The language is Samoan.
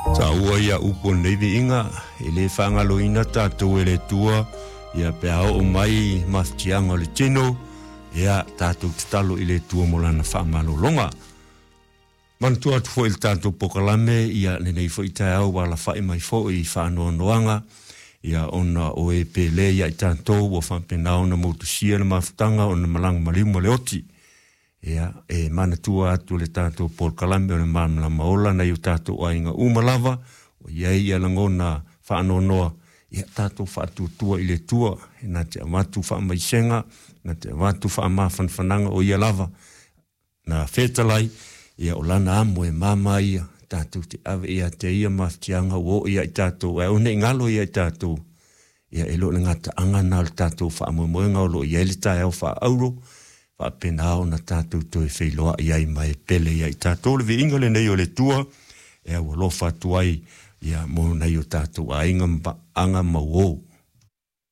Taua ia upu o lenei viiga, e le faagaloina tatou e le Atua, ia pe a oo mai mafatiaga o le tino, ia tatou tatalo i le Atua mo lana faamalologa. Manatua atu foi i le tatou polokalame, ia lenei foi taeao ua alafai mai foi i faanoanoaga, ia ona o e pele ia i tatou ua faapena ona motusia le mafutaga ona malaga maliu ma le oti. Ia, e manatua atu le tatou polokalame o le Malamalama Ola nai o tatou aiga uma lava, o i ai ia lagona faanoanoa, ia tatou faatuatua i le Atua, e na te avatu faamaisega, na te avatu faamafanafanaga o ia lava, na fetalai, ia o lana amo e mama ia, tatou te ave ia te ia mafatiaga ua oo ia i tatou, ae aua ne i galo ia i tatou, ia e le o le gataaga lena o le tatou faamoemoega o lo o i ai le taeao faaauro, faapena ona tatou toe feiloai ai ma e pele ia i tatou. Le viiga lenei o le Atua e aualofa atu ai ia mo nai o tatou aiga ma paaga ma uo.